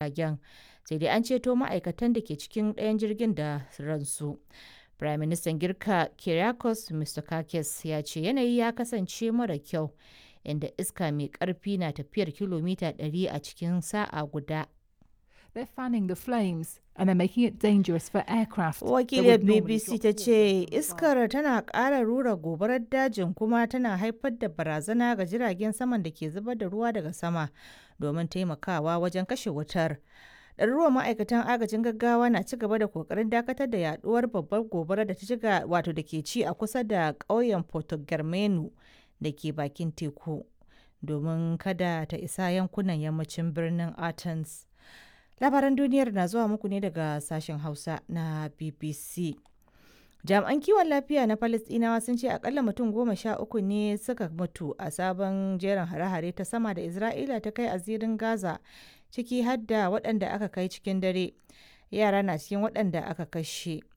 Jiragen, sai dai an ceto ma'aikatan da ke cikin ɗayan jirgin da ransu. Firaministan Girka Kyriakos Mitsotakis ya ce yanayi ya kasance mara kyau, inda iska mai ƙarfi na tafiyar kilomita 100 a cikin sa'a guda. They're fanning the flames and they're making it dangerous for aircraft that Wakiliyar would normally BBC drop ta water ce from above. iskar tana ƙara rura gobarar dajin kuma tana haifar da barazana ga jiragen saman da ke zubar da ruwa daga sama domin taimakawa wajen kashe wutar. Ɗaruruwan ma'aikatan agajin gaggawa na ci gaba da kokarin dakatar da yaduwar babbar gobarar da ta shiga wato da ke ci a kusa da ƙauyen Porto Germano da ke bakin teku domin kada ta isa yankunan yammacin birnin Athens. Labaran duniyar na zuwa muku ne daga sashen Hausa na BBC. Jami'an kiwon lafiya na Falasɗinawa sun ce akalla mutum 13 ne suka mutu a sabon jerin hare-hare ta sama da Isra'ila ta kai a zirin Gaza, ciki har da waɗanda aka kai cikin dare. Yara na cikin waɗanda aka kashe.